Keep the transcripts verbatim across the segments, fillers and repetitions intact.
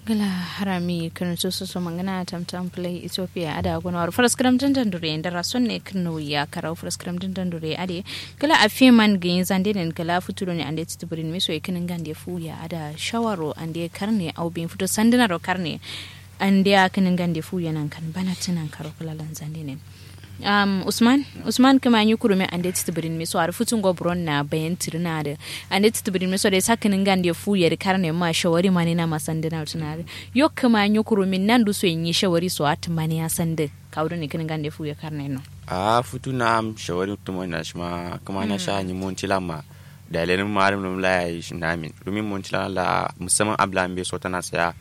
Gla harami kǝrǝntu soso mangǝna tamtam pǝlai ethiopia ada gonowaro fǝraskǝram dǝndandure ndara sonne kǝrnauya karau fǝraskǝram dǝndandure ade. Gla afiye man gǝnyi zandenen gla futu done ande tǝtǝbǝrin miso ye kǝnǝngande fuya ada shawaro ande karne au bin futu sandǝnaro karne. Ande a kǝnǝngande fuya nankan bana tǝnan karo gla lan zandenen. Am usman usman kǝma nyi kurumin ande tǝtǝbǝrin miso adǝ futungo buron na bayan tǝrǝna adǝ. Ande tǝtǝbǝrin miso dai sakkǝnin gande fu yeri karne ma shawari mani na masandǝ na tǝna adǝ. Yo kǝma nyi kurumin nandu so ye nyi shawari so attǝ mani ya sandǝ. Kawu done kǝnin gande fu yeri karne no. Ahh futu na am shawari tǝmoni na shima kǝma nasha nyi monti lan ma. Dayi lenǝm ma adǝm nǝm la yayi shinamin rumin monti lan la musamman abla mbe sotana saya.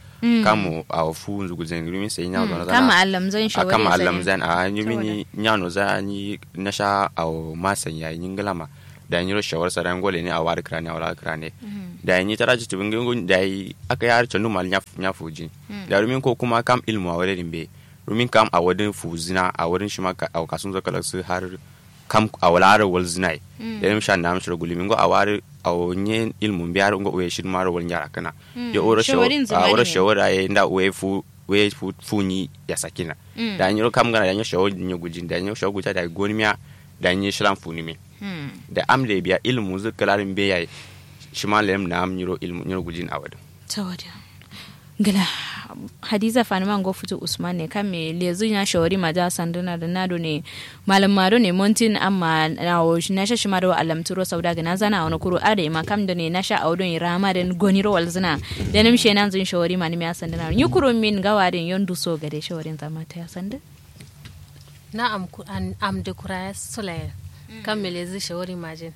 Kam awo fu nzugulzain rumin sai nya zona zana. Kam allamzain shawari kam allamzain ahh nyumi nyi nya noza nyi nasha awo masan yayi nyi ngǝla ma. Dayi nyiro shawari sadan ngo leni awo adǝ kǝrane awo la adǝ kǝrane. Dayi nyi tara citibin ngi ngu dayi aka yar canduma nya fujin. Dayi rumin ko kuma kam ilmu awo dǝ mbe rumin kam awo dǝ fuzina awo dǝ shima awo kasunzo kalaksǝ har. Kam awo la adǝ walzǝna ye. Lenǝm sha nam shiro gulimi ngo awo adǝ awo nye ilmu mbe adǝ ngo uwe shidima adǝ walnya rakkǝna. Yo oro shawari aye nda uwe fu uwe fu nyi yasakina. Dayi nyiro kam ngana dayi nyiro shawari nyi gujin dayi nyiro shawari guja dayi gonimiya. Dayi nyi shilan funǝmin. Dayi am dai biya ilmu zǝ kǝla dǝ mbe yayi. Shima lenǝm nam nyiro ilmu nyiro gujin awo dǝ. Tawada. Ngla. Hadiza fanǝma ngo futu usman ne kamme lezǝ nya shawari maja sandǝna dǝ na done. Malǝm ma done montin amma awo nasha shima do allamtǝ ro sauda gǝna zana awo no kuru adai ma kam done nasha awo done rama dǝn goniro walzǝna. Lenǝm she nanzǝn shawari manǝmiya sandǝna nyi kurumin ngawo adǝn yo nduso gade shawarin zama taya sandǝ. Na am dǝ kura sulayen. Kamme lezǝ shawari majin.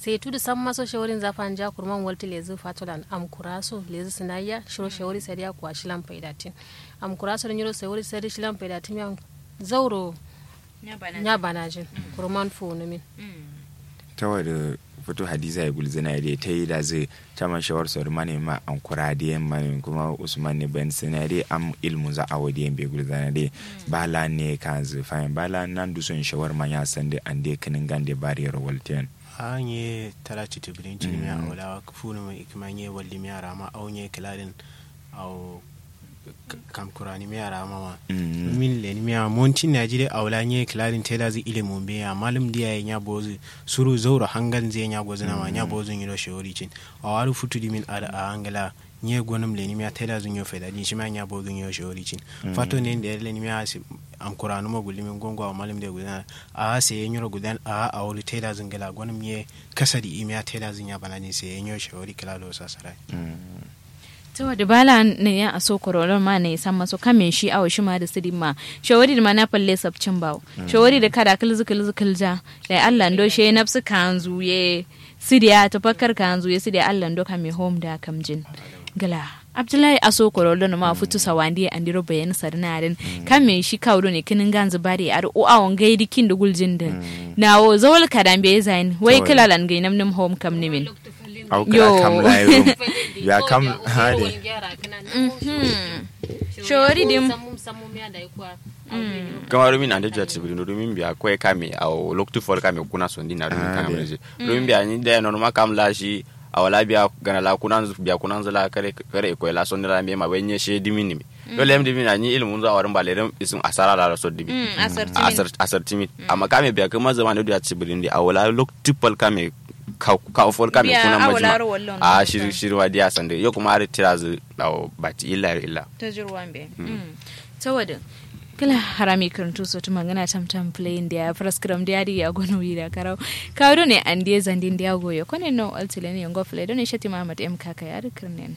Sai tudu samma so shawarin za fanja kurman waltǝ lezǝ fatolan am kura so lezǝ sǝnayya shiro shawari sadiya kuwa shilan faidatin. Am kura so dǝ nyiro shawari sadi shilan faidatin miya zauro. Nya banajin. Kurman fuwunumin. Tawa dǝ futu hadiza ye gulzǝna ye dai tayi dazǝ. Caman shawar so dǝ mane ma am kura dǝ yen mane kuma usman ne bayan sǝna ye dai am ilmunza awo dǝ yen be gulzǝna dai. Ba la ne kanzǝ fayin ba la nandu son shawar ma nya sandǝ ande kǝnǝngande bariyero waltǝ yen. Ahh nye tala citibǝrin cinimiya awo la fuwunumǝ ikǝma nye wallimiya rama au nye kǝladin. Awo kam kuranimiya rama ma. Min lenimiya montin naji dai awo la nye kǝladin taidazǝ ilimu mbeya malum dǝ yaye nya bozǝ. Suru zauro hangal nzǝ ye nya bozǝna ma nya bozǝ nyiro shawari cin. Awo adǝ futu dǝ min adǝ ahh ngla. Nye gonǝm lenimiya taidazǝ nyo faidajin shima nya bozǝ nyo shawari cin. Fato nen dai lenimiya. Am kuranuma gullumin gongo awo malum dǝ ye gulzǝna. Ahh sai ye nyiro gulzan ahh awo dǝ taidazǝ ngla gonǝm nye. Kasa dǝ imiya taidazǝ nya banajin sai ye nyo shawari kǝla do sasara. Tawa dǝ bala nai ya aso koro lon ma nai samma so kamme shi awo shima dǝ sǝdin ma. Shawari dǝ ma na falle sabcin bawo. Shawari dǝ kada kǝlzǝ kǝlzǝ kǝlja. Dai allah ndo she nafsǝ kanzu ye. Sǝdiya tafakkar kanzu ye sǝdiya allah ndo kamme hom da kamjin. Gla abdullahi aso koro lon ma futu sawandi ye andiro bayan sadǝna adǝn. Kamme shi kawu done kǝnǝnganzǝ bade adǝ o awo ngai dǝ kin dǝ guljin dǝn. Nawo zawal kada mbeyi zayin wai kǝlalan ngai namnǝm hom kamnǝmin. Au kǝla kam layi rum. Biya kam hade. Shawari dǝm. Kǝma rumin ande juwa tǝsǝbǝri no rumin biya koye kame awo loktu fol kame kuna sondin na rumin kame je. Rumin biya nyi dai nonuma kam la shi. Awo la biya gana la kunanzǝ biya kunanzǝ la kare kare koye la sondin la mbeyi ma wai nye she dǝmin nǝmi. Dole yam dǝmin na nyi ilimunzǝ awo dǝm ba ledǝm isǝm asara la la so dǝmin. Asar tǝmin amma kame biya kǝma zaman dǝ juwa tǝsǝbǝrin dǝ awo la loktu fol kame. Kawo fol kame kuna majima. Ahh shiri shiri ma diya sandǝ yo kuma adǝ tirazǝ. Awo bati illa yero illa. Tajirwa mbe. Tawadǝ. Kǝla harami kǝrǝntu so tǝmangǝna tamtam fǝlayin diya fǝraskǝram diya dǝ ya gono wi da karau. Kawu done andiye zandin diya goyo kone no altǝlen ye ngo fǝlai done shatima ahmad m kaka ya dǝ kǝrnen.